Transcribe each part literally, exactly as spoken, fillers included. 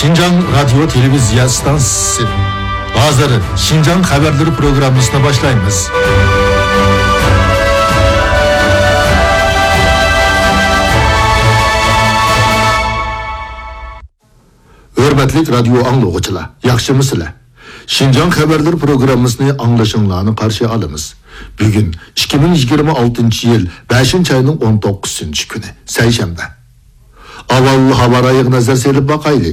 شىنجاڭ رادىيو تېلېۋىزىيە ئىستانسىسى. ھازىر شىنجاڭ خەۋەرلىرى پروگراممىسىنى باشلايمىز. ھۆرمەتلىك رادىيو ئاڭلىغۇچىلار، ياخشىمۇسىلەر؟ شىنجاڭ خەۋەرلىرى پروگراممىسىنى ئاڭلىشىڭلارنى قارشى ئالىمىز. بۈگۈن ئىككى مىڭ يىگىرمە ئالتىنچى يىل بەشىنچى ئاينىڭ ئون توققۇزىنچى كۈنى، سەيشەنبە. ئاۋۋال ھاۋا رايىغا نەزەر سېلىپ باقايلى.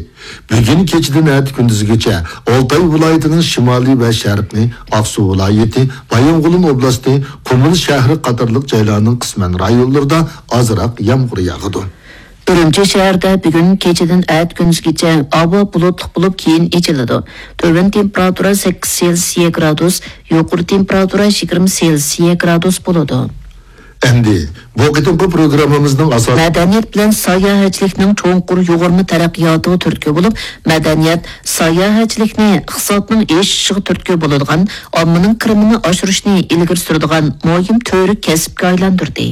بۈگۈن كېچىدىن ئەتە كۈندۈزگىچە ئالتاي ۋىلايىتىنىڭ شىمالى ۋە شەرقىي، ئاقسۇ ۋىلايىتى، بايىنغولىن ئوبلاستى، قۇمۇل شەھىرى قاتارلىق جايلارنىڭ قىسمەن رايونلىرىدا ئازراق يامغۇر ياغىدۇ. ئۈرۈمچى شەھىرىدە بۈگۈن كېچىدىن ئەتە كۈندۈزگىچە ھاۋا بۇلۇتلۇق بولۇپ، كېيىن ئېچىلىدۇ. تۆۋەن تېمپېراتۇرا سەككىز سېلسىيە گرادۇس، يۇقىرى تېمپېراتۇرا يىگىرمە سېلسىيە گرادۇس بولىدۇ. ئەمدى بۇ قېتىمقى پروگراممىمىزنىڭ ئاساسىي مەدەنىيەت بىلەن ساياھەتچىلىكنىڭ چوڭقۇر يۇغۇرما تەرەققىياتىغا تۈرتكە بولۇپ، مەدەنىيەت ساياھەتچىلىكنى ئىقتىسادنىڭ ئېشىشىغا تۈرتكە بولىدىغان، ئاممىنىڭ كىرىمىنى ئاشۇرۇشنى ئىلگىرى سۈرىدىغان مۇھىم تۈۋرۈك كەسىپكە ئايلاندۇردى.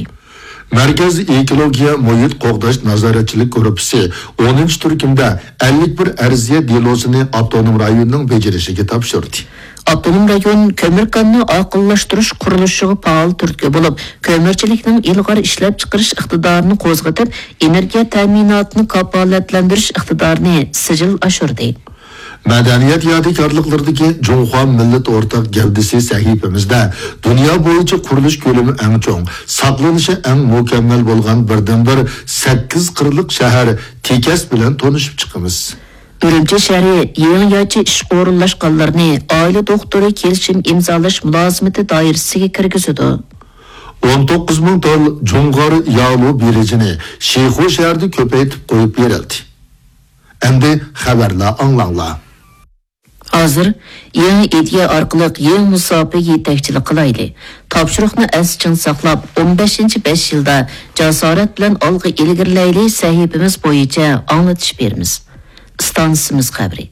مەركەز ئېكولوگىيە مۇھىت قوغداش نازارەتچىلىك گۇرۇپپىسى ئونىنچى تۈركۈمدە ئەللىك بىر ئەرزىيەت دېلوسىنى ئاپتونوم رايوننىڭ بېجىرىشىگە تاپشۇردى. ئاپتونوم رايون كۆمۈر كانىنى ئاقىللاشتۇرۇش قۇرۇلۇشىغا پائال تۈرتكە بولۇپ، كۆمۈرچىلىكنىڭ ئىلغار ئىشلەپچىقىرىش ئىقتىدارىنى قوزغىتىپ، ئېنېرگىيە تەمىناتىنى كاپالەتلەندۈرۈش ئىقتىدارىنى سىجىل ئاشۇردى. مەدەنىيەت يادىكارلىقلىرىدىكى جۇڭخۇا مىللەت ئورتاق گەۋدىسى سەھىپىمىزدە دۇنيا بويىچە قۇرۇلۇش كۆلىمى ئەڭ چوڭ، ساقلىنىشى ئەڭ مۇكەممەل بولغان بىردىنبىر سەككىز قىرلىق شەھەر تېكەس بىلەن تونۇشۇپ چىقىمىز. ئۈرۈمچى شەھىرى يېڭىچە ئىشقا ئورۇنلاشقانلارنى ئائىلە دوختۇرى كېلىشىم ئىمزالاش مۇلازىمىتى دائىرىسىگە كىرگۈزىدۇ. ئون توققۇز مىڭ تال جۇڭغار يالۇ بېلىجىنى شىخۇ شەھىرىدە كۆپەيتىپ قويۇپ بېرىلدى. ئەمدى خەۋەرلەر ئاڭلاڭلار. ھازىر يېڭى ئىدىيە ئارقىلىق يېڭى مۇساپىگە يېتەكچىلىك قىلايلى. تاپشۇرۇقنى ئەستە چىڭ ساقلاپ، ئون بەشىنچى بەش يىلدا جاسارەت بىلەن ئالغا ئىلگىرىلەيلى سەھىپىمىز بويىچە ئاڭلىتىش بېرىمىز. ئىستانسىمىز خەۋىرى.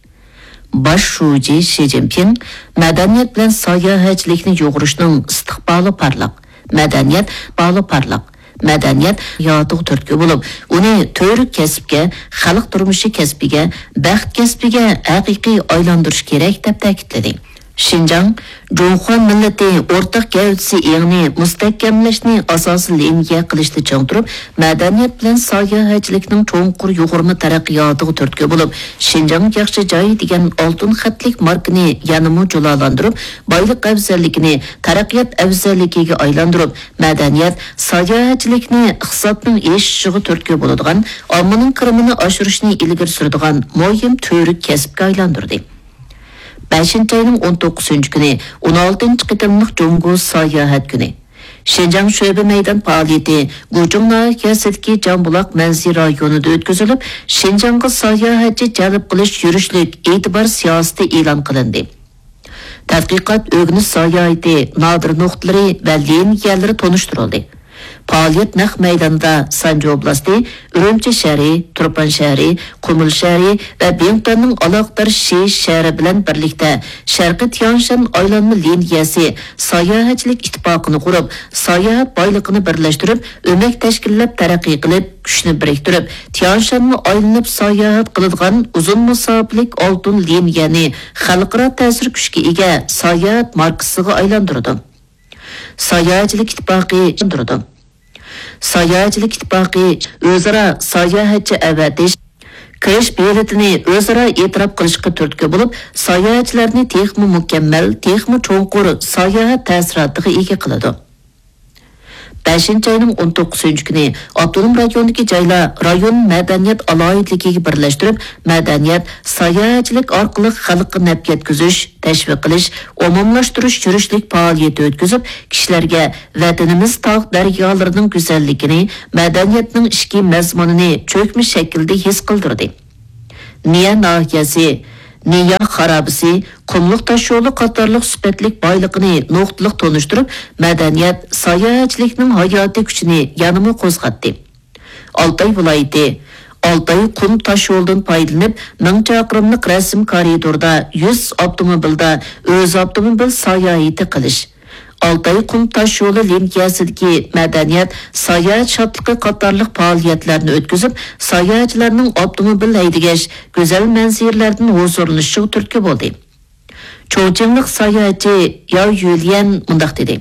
باش شۇجى شى جىنپىڭ مەدەنىيەت بىلەن ساياھەتچىلىكنى يۇغۇرۇشنىڭ ئىستىقبالى پارلاق، مەدەنىيەت بالا پارلاق، مەدەنىيەت ھاياتىغا تۈرتكە بولۇپ، ئۇنى تۈۋرۈك كەسىپكە، خەلق تۇرمۇشى كەسپىگە، بەخت كەسپىگە ھەقىقىي ئايلاندۇرۇش كېرەك، دەپ تەكىتلىدى. شىنجاڭ جۇڭخۇا مىللىتى ئورتاق گەۋدىسى ئېڭىنى مۇستەھكەملەشنى ئاساسىي لىنىيە قىلىشتا چىڭ تۇرۇپ، مەدەنىيەت بىلەن ساياھەتچىلىكنىڭ چوڭقۇر يۇغۇرما تەرەققىياتىغا تۈرتكە بولۇپ، شىنجاڭ ياخشى جاي دېگەن ئالتۇن خەتلىك ماركىنى يەنىمۇ جۇلالاندۇرۇپ، بايلىق ئەۋزەللىكىنى تەرەققىيات ئەۋزەللىكىگە ئايلاندۇرۇپ، مەدەنىيەت، ساياھەتچىلىكنى ئىقتىسادنىڭ ئېشىشىغا تۈرتكە بولىدىغان، ئاممىنىڭ كىرىمىنى ئاشۇرۇشنى ئىلگىرى سۈرىدىغان مۇھىم تۈۋرۈك كەسىپكە ئايلاندۇردى. بەشىنچى ئاينىڭ ئون توققۇزىنچى كۈنى ئون ئالتىنچى قېتىملىق جۇڭگو ساياھەت كۈنى. شىنجاڭ شۆبە مەيدان پائالىيىتى گۇچۇڭ ناھىيەسىدىكى جامبۇلاق مەنزىرە رايونىدا ئۆتكۈزۈلۈپ، شىنجاڭغا ساياھەتچى جەلپ قىلىش يۈرۈشلۈك ئېتىبار سىياسىتى ئېلان قىلىندى. تەتقىقات، ئۆگىنىش ساياھىتى نادىر نۇقتىلىرى ۋە لىنىيەلىرى تونۇشتۇرۇلدى. پائالىيەت نەق مەيدانىدا سانجى ئوبلاستى، ئۈرۈمچى شەھىرى، تۇرپان شەھىرى، قۇمۇل شەھىرى ۋە بىڭتۇەننىڭ ئالاقىدار شى شەھىرى بىلەن بىرلىكتە شەرقىي تيانشان ئايلانما لىنىيەسى ساياھەتچىلىك ئىتتىپاقىنى قۇرۇپ، ساياھەت بايلىقىنى بىرلەشتۈرۈپ، ئۆمەك تەشكىللەپ تەرەققىي قىلىپ، كۈچنى بىرىكتۈرۈپ، تيانشاننى ئايلىنىپ ساياھەت قىلىدىغان ئۇزۇن مۇساپىلىك ئالتۇن لىنىيەنى خەلقئارا تەسىر كۈچكە ئىگە ساياھەت ماركىسىغا ئايلاندۇرىدۇ. ساياھەتچىلىك ئىتتىپاقى ئايلاندۇرىدۇ. ساياھەتچىلىك ئىتتىپاقى ئۆزئارا ساياھەتچى ئەۋەتىش، كىرىش بېلىتىنى ئۆزئارا ئېتىراپ قىلىشقا تۈرتكە بولۇپ، ساياھەتچىلەرنى تېخىمۇ مۇكەممەل، تېخىمۇ چوڭقۇر ساياھەت تەسىراتىغا ئىگە قىلىدۇ. بەشىنچى ئاينىڭ ئون توققۇزىنچى كۈنى ئاپتونوم رايوندىكى جايلار رايون مەدەنىيەت ئالاھىدىلىكىگە بىرلەشتۈرۈپ، مەدەنىيەت، ساياھەتچىلىك ئارقىلىق خەلققە نەپ يەتكۈزۈش، تەشۋىق قىلىش، ئومۇملاشتۇرۇش يۈرۈشلۈك پائالىيىتى ئۆتكۈزۈپ، كىشىلەرگە ۋەتىنىمىز تاغ دەريالىرىنىڭ گۈزەللىكىنى، مەدەنىيەتنىڭ ئىچكى مەزمۇنىنى چۆكمە شەكىلدە ھېس قىلدۇردى. نىيە ناھىيەسى، نىيە خارابىسى، قۇملۇق تاشيولى قاتارلىق سۈپەتلىك بايلىقىنى نۇقتىلىق تونۇشتۇرۇپ، مەدەنىيەت، ساياھەتچىلىكنىڭ ھاياتىي كۈچىنى يەنىمۇ قوزغاتتى. ئالتاي ۋىلايىتى، ئالتاي قۇم تاشيولىدىن پايدىلىنىپ، مىڭ چاقىرىملىق رەسىم كارىدوردا يۈز ئاپتوموبىلدا ئۆز ئاپتوموبىل ساياھىتى قىلىش، ئالتاي قۇم تاش يولى لىنىيەسىدىكى مەدەنىيەت، ساياھەت شادلىقى قاتارلىق پائالىيەتلەرنى ئۆتكۈزۈپ، ساياھەتچىلەرنىڭ ئاپتوموبىل ھەيدىگەچ گۈزەل مەنزىرىلەردىن ھۇزۇرلىنىشىغا تۈرتكە بولدى. چوڭچىڭلىق ساياھەتچى ياۋ يۈليەن مۇنداق دېدى: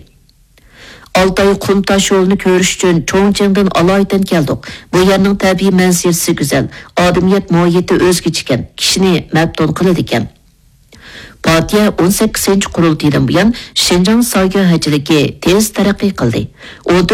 ئالتاي قۇم تاش يولىنى كۆرۈش ئۈچۈن چوڭچىڭدىن ئالايىتەن كەلدۇق. بۇ يەرنىڭ تەبىئىي مەنزىرىسى گۈزەل، ئادەمىيەت مۇھىتى ئۆزگىچىكەن، كىشىنى مەپتۇن قىلىدىكەن. پارتىيە ئون سەككىزىنچى قۇرۇلتىيىدىن بۇيان شىنجاڭ ساياھەتچىلىكى تېز تەرەققىي قىلدى. ئون